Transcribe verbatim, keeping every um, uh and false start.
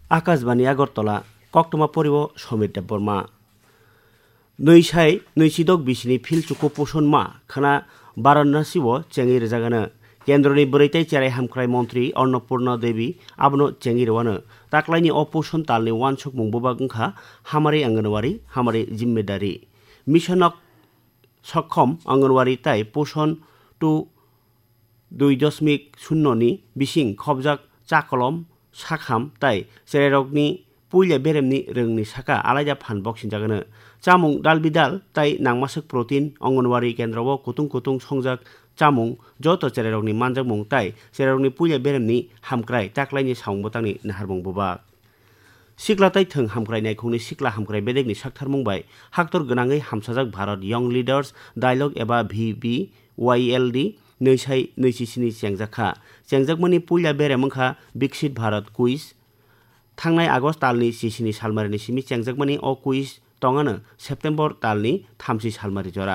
Akashbani Agartala, koktwma poriwo Somir Debbarma. Nwi sai nwi chidok bisini phil chuku puson ma khana Varanasi o chengwi rwjagano. Kendroni bwrwi tei cherai hamkrai montri Annapurna Devi abono chengwi rwano. Taklaini o puson talni uansukmung bwbak wngkha Hamari Anganwadi, Hamari Jimmedari. Mission ok Sokkhom Anganwadi tai Puson two dui dosmik shunno ni bising khobjak chakolom, sakham tai cherairokni puila beremni rwngni saka alaida phan boksinjagano. Chamung dal bidal tai nangmaswk protein Anganwadi kendro o kutung kutung songjak chamung joto cherairokni manjakmung tai cherairokni puila beremni hamkrai taklaini samung bwtangni naharmung bwbak. Sikla tai thwng hamkrai naikhungni sikla hamkrai bedekni saktharmung bai haktor gwnangwi hamsajak Bharat Young Leaders Dialogue eba V B Y L D nwi sai nwi chi sini chengjak kha. Chengjakmani puila berem wngkha Viksit Bharat Quiz. Thangnai August talni chi sini salmarini simi chengjakmani o quiz tongano September talni thamchi salmari jora.